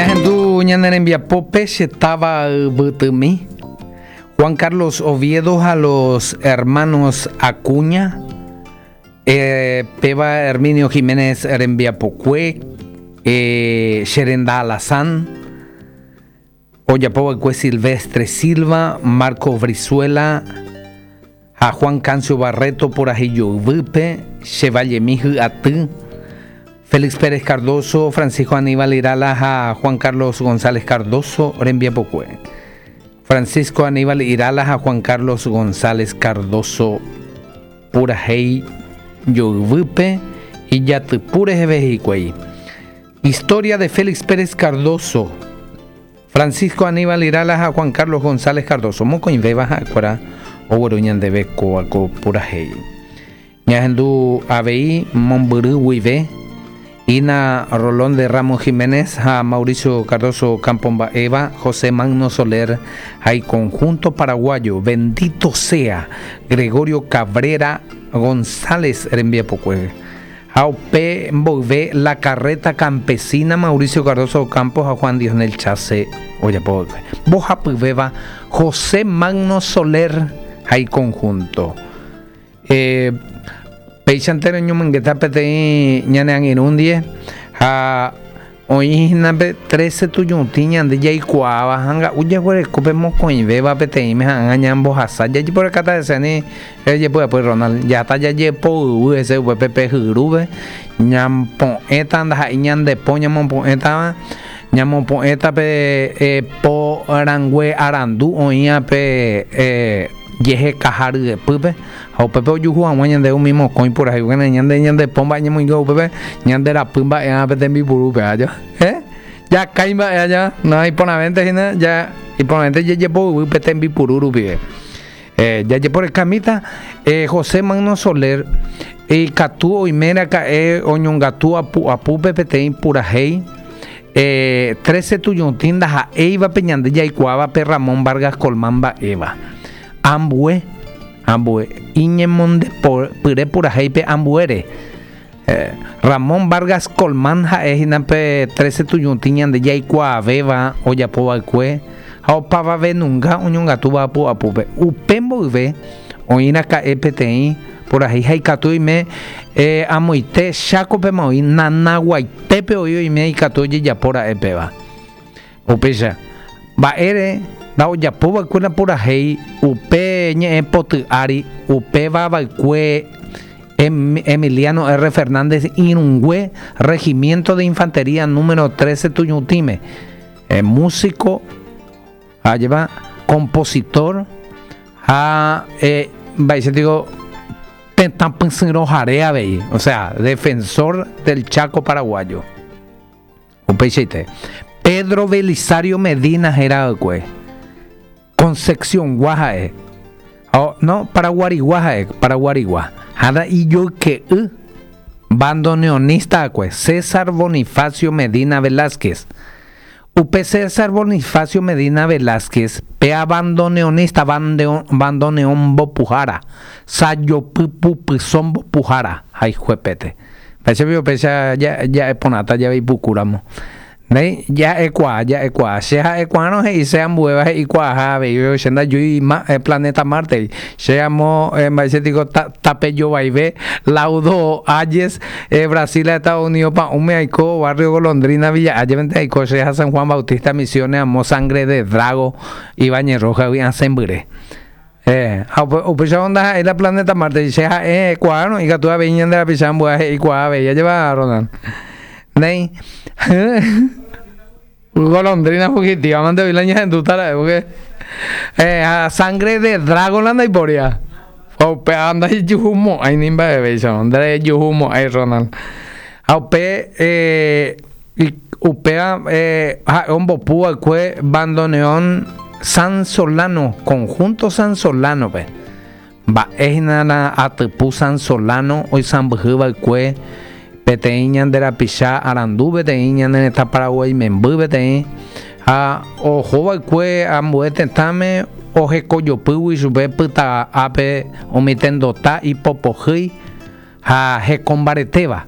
Ñahendu ñane rembiapópe che táva yvytymi, Juan Carlos Oviedo ha los hermanos Acuña, eh, péva Herminio Jiménez rembiapokue, eh, che renda alazán, ojapova'ekue Silvestre Silva, Marco Brizuela ha Juan Cancio Barreto purahéi joyvýpe, Che Vallemi Hy'aty, Félix Pérez Cardozo, Francisco Aníbal Irala ha Juan Carlos González Cardozo rembiapokue. Francisco Aníbal Irala ha Juan Carlos González Cardozo purahéi joyvýpe ijatypu reheve hikuái. Historia de Félix Pérez Cardozo, Francisco Aníbal Irala ha Juan Carlos González Cardozo, mokõivéva ha'ekuéra ogueru ñandéve kóva ko purahéi. Ñahendu avei mombyry guive, Ina Rolón de Ramos Jiménez ha Mauricio Cardozo Campo mba'éva, José Magno Soler ha iconjunto paraguayo, Bendito sea Gregorio Cabrera González rembiapokue. Ha upe mboyve La Carreta Campesina, Mauricio Cardozo Ocampo ha Juan Dionel Chase ojapo va'ekue. Mbohapyvéva José Magno Soler ha iconjunto. Eh, péichante roñomongeta peteĩ ñane angirũ ndie ha Oĩ hína pe trece tujutĩ ñande jaikuaáva ha nga'u jaguereko pe mokõivéva peteĩme ha ág̃a ñambohasa jajeporekáta hese ani rejepy'apy Ronald jata jajepoyvy hese upépe pe hyrúpe ñapo'ẽta ndaha'éi ñande po ñamopo'ẽtava ñamopo'ẽta pe po rangue arandu oĩva pe jehekaha ryepýpe Ha upépe ojuhu hag̃ua ñande umi mokõi purahéi, pórke ñande ñande po mba'e ñamoinge upépe, ñande rapy mba'e'ã pe tembipurúpe, aja. Eh? Jakái mba'e aja, no iporãvénte hína, ja iporãvénte jajepoyvy pe tembipuru rupive. Eh, jajeporekamíta, eh, José Magno Soler ikatu oime raka'e oñongatu apu apúpe peteĩ purahéi, eh, trece tujutĩ ndaha'éivape ñande jaikuaáva pe Ramón Vargas Colmán mba'éva. Ambue, ambue, iñemondepyre purahéipe ambuére. Ramón Vargas Colmán ha'e hína pe Trece Tujutĩ ñande jaikuaavéva ojapo va'ekue ha opavave nunga oñongatúva apu'apúpe. Upe mboyve oĩ raka'e peteĩ purahéi ha ikatu oime amoite Chákopema oĩ, Nanaguaitépe oĩ oime ikatu ojejapo ra'e péva. Upéicha, mba'ére ndaojapo va'ekue la purahéi upe ñe'ẽ poty ári, upéva va'ekue Emiliano R. Fernández irũngue Regimiento de Infantería número 13 Tuñutĩme, músico, ajépa, compositor ha mba'éicha tiko tetã pysyrõhare avei, o sea, defensor del Chaco paraguayo. Upeichaite, Pedro Belisario Medina héra va'ekue, Concepción-gua ha'e, ha no, Paraguarigua ha'e, Paraguarigua, ha ijoyke'y bandoneonista va'ekue, César Bonifacio Medina Velázquez. Upe César Bonifacio Medina Velázquez, pe abandoneonista, bandoneón mbopuhára, sajopypupyso mbopuhára, ha ijuepete. Péicha piko péicha ja'e porãta jave ipukúramo. Néi, ja'ekuaa, ja'ekuaa. Che ha'ekuaárõ he'ise ambuéva he'ikuaaha avei, che ndajúi planeta Marte-gui. Che amo mba'éicha tiko tape jovaive Laudo Ayes, Brasil ha Estados Unidos pa'ũme aiko, barrio Golondrina, Villa Ayes-pente aiko, che ha San Juan Bautista Misiones amo Sangre de Drago, Ibañez Rojas-gui asẽmbyre. Eh, ha upe, upéicha ndaha'éi la planeta Marte, che ha'e kuaárõ ikatu avei ñande rapicha ambue he'i kuaa avei, ajépa Ronald? Néi. Golondrina fugitiva mante oĩ la ñahendúta ra'e, porque eh, ha sangre de dragon la ndaipóriva. Ha upéva ndaijuhumo'ãi ni mba'evéicharõ, nderejuhumo'ãi Ronald. Ha upe eh, Upéva ha'e ombopu va'ekue bandoneón San Solano, Conjunto San Solano-pe. Mba'e hína la atypu San Solano oisãmbyhy va'ekue peteĩ ñande rapicha arandu peteĩ ñane retã Paraguái memby peteĩ ha oho va'ekue ambue tetãme ohekojopýgui chupe pyta'ápe umi tendota ipopohýi ha hekombaretéva.